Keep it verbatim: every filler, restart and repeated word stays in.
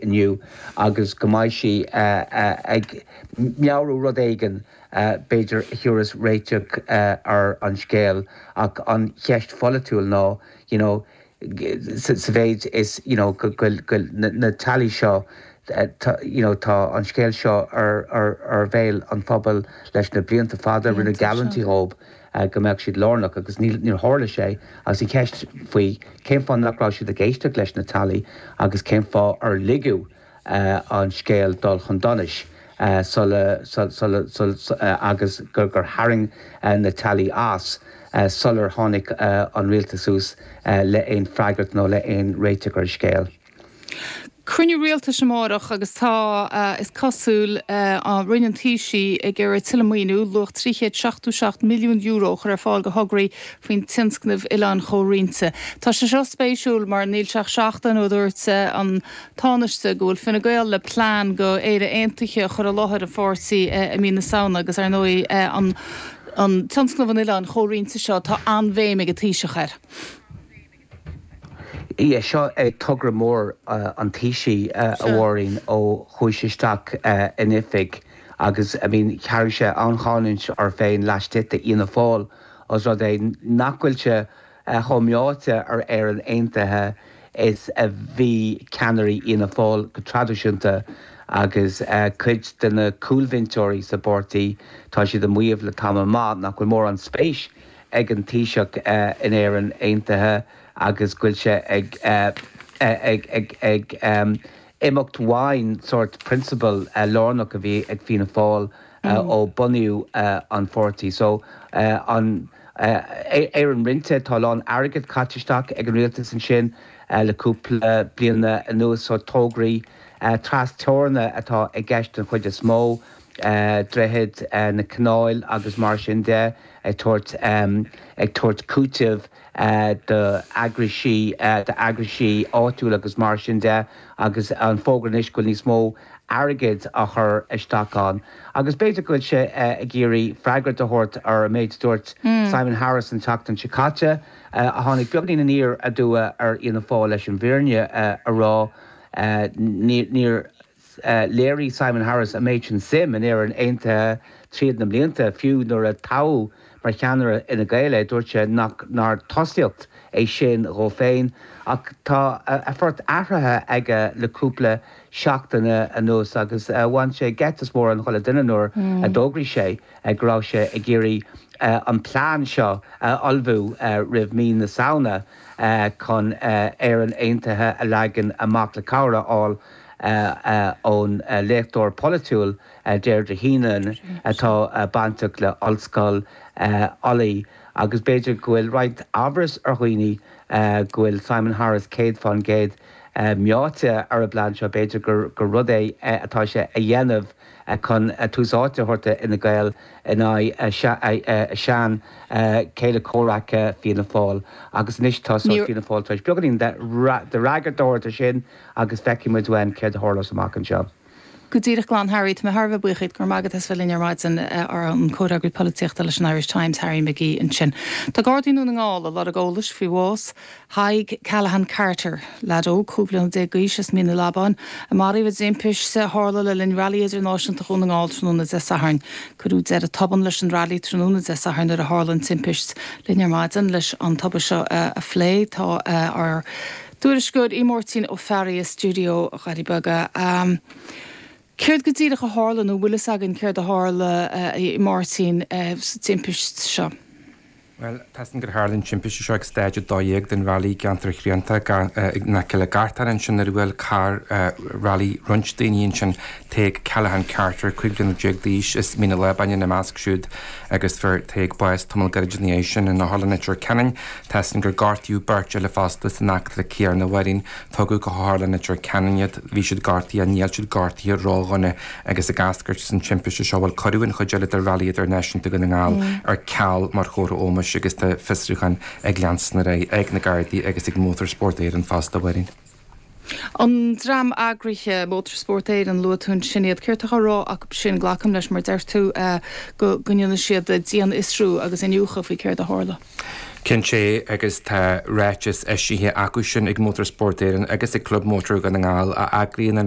inniu agus go mbeidh sí ag meabhrú rud éigin b'fhéidir a thabharfas réiteach ar an scéal ach an cheist pholaitiúil ná you know, sa mhéid is you know, go bhfuil na teaghlaigh seo you know, tá an scéal seo ar, ar, ar bhéal an phobail leis na blianta fada rinneadh geallúintí dóibh go mbeadh siad lárnach agus níor tharla sé agus an cheist faoi cén fáth nach raibh siad ag éisteacht leis na teaghlaigh agus cén fáth ar ligeadh an scéal dul chun donais sula agus gur gur tharraing na teaghlaigh as sular tháinig an rialtas suas le aon freagairt nó le aon réiteach ar an scéal. Cruinniú rialtais amárach agus tá is cosúil Roinn an Taoisigh ag iarraidh tuilleadh maoiniú luach trí chéad seachtó seacht milliún euro a chur ar fáil do thograí faoin tionscnamh Oileáin Chomhroinnte. Tá sé seo spéisiúil mar níl sé ach seachtain ó dúirt an Tánaiste go bhfuil Fine Gael le plean go Éire Aontaithe a chur i láthair an pháirtí i mí na Samhna agus ar ndóigh an an tionscnamh an Oileáin Chomhroinnte seo tá an-bhéim ag an Taoiseach air. Yeah, seo é togra mór an Taoisigh a Mháirín ó chuaigh sé isteach in oifig agus I mean tharraing sé an-cháineadh air féin laistigh de Fhianna Fáil os rud é nach bhfuil sé chomh meáite ar Éirinn Aontaithe is a bhí ceannairí Fhianna Fáil go traidisiúnta agus cuid de na cúlbhinseoirí sa bpáirtí tá siad ag maíomh le tamall maith nach bhfuil mórán spéis ag an Taoiseach in Éirinn Aontaithe agus go bhfuil sé ag ag ag ag imeacht uaidh sórt prionsabal lárnach a bhí ag Fianna Fáil ó bunaíodh an pháirtí. So an Éirinn roinnte tá a lán airgead caite isteach ag an rialtas ansin le cúpla bliana anuas so tograí trasteorann atá i gceist den chuid is mó, droichid na canáil agus mar sin de ag tabhairt ag tabhairt cúiteamh do eagraisí d'eagraisí áitiúil agus mar sin de agus an fógra anois go bhfuil níos mó airgid á chur isteach ann. Agus b'fhéidir go bhfuil sé ag iarraidh freagairt a thabhairt ar an méid a dúirt Simon Harris an tseachtain seo caite, a tháinig beagáinín aniar aduaidh ar Fhianna Fáil leis an bhfírinne a rá. Níor léirigh Simon Harris an méid sin suim in Éirinn Aontaithe tríd na blianta, fiú nuair a toghadh mar cheannaire Fhine Gael é, dúirt sé nach nár tosaíocht é sin dhó féin. Ach tá a phort athraithe aige le cúpla seachtain anuas agus bhain sé geit as mórán chuile duine nuair a d'fhógraigh sé go raibh sé ag iarraidh an plean seo a ullmhú roimh mí na Samhna chun Éirinn Aontaithe a leagan amach le cabhair a fháil ón léachtóir polaitiúil Deirdre Heenan atá bainteach le Ollscoil Ulaidh agus b'fhéidir go bhfuil roinnt amhras ar dhaoine go bhfuil Simon Harris céad fán gcéad meáite ar an bplean seo, b'fhéidir gur rud é atá sé a dhéanamh chun tús áite a thabhairt d'Fhine Gael in aghaidh a sean chéile comhraic Fianna Fáil agus anois tá Fianna Fáil tar éis beagáinín de fhreagairt a thabhairt air sin agus feicfidh muid uainn céard a tharlós amach anseo. Go díreach glan Harry, tá mé thar a bheith buíoch díot go raibh maith agat as bheith linn ar maidin ar an comhfhreagraí polaitíochta leis an Irish Times, Harry McGee ansin. Tá Gardaí i nDún na nGall ag lorg eolais faoi bhás Thaidhg Callaghan Carter, leaid óg cúig bliana déag d'aois as Mín an Labáin, a maraíodh i dtimpiste a tharla le linn Railí Idirnáisiúnta Dhún na nGall tráthnóna Dé Sathairn. Cuireadh deireadh tobann leis an railí tráthnóna Dé Sathairn nuair a tharla an timpist. Linn ar maidin leis an tubaiste seo a phlé tá ár dtuairisceoir Aodh Máirtín Ó Fearraigh i stiúideo Dhoirí Beaga. Céard go díreach a tharla nó bhfuil fhios againn céard a tharla a Mháirtín sa timpist seo? Bhuel, tá gur tharla an timpiste seo ag stáid a dó dhéag den railí i gceantar Chrianta in aice le Gartán ansin nuair a bhuail carr railí roinnt daoine ansin Tadhg Callaghan Carter, cúig bliana déag d'aois as Mín an Lábáin ina measc siúd agus fuair Tadhg bás tamall gairid ina dhiaidh sin in Otharlann Leitir Ceanainn. Tá gur gortaíodh beirt eile fosta san eachtra céanna a Mháirín. Tugadh go hOtharlann Leitir Ceanainn iad, bhí siad gortaithe, níl siad gortaithe ródhona agus ag eascairt as an timpiste seo bhuel cuireadh an chuid eile de Railí Idirnáisiúnta Dhún na nGall ar ceal mar chomhartha ómóis agus tá fiosrúchán ag leanstan ar aghaidh ag na Gardaí agus ag Motorsport Éireann fosta Mháirín. An dream eagraithe Motorsport Éireann luaigh tú ansin iad céard atá á rá acu sin glacaim leis mar deir tú go ndéanfaidh siad dianfhiosrú agus iniúchadh faoi céard a tharla. Cinnte agus tá ráiteas eisithe acu sin ag Motorsport Éireann agus ag Club Mótar Dhún na nGall a eagraíonn an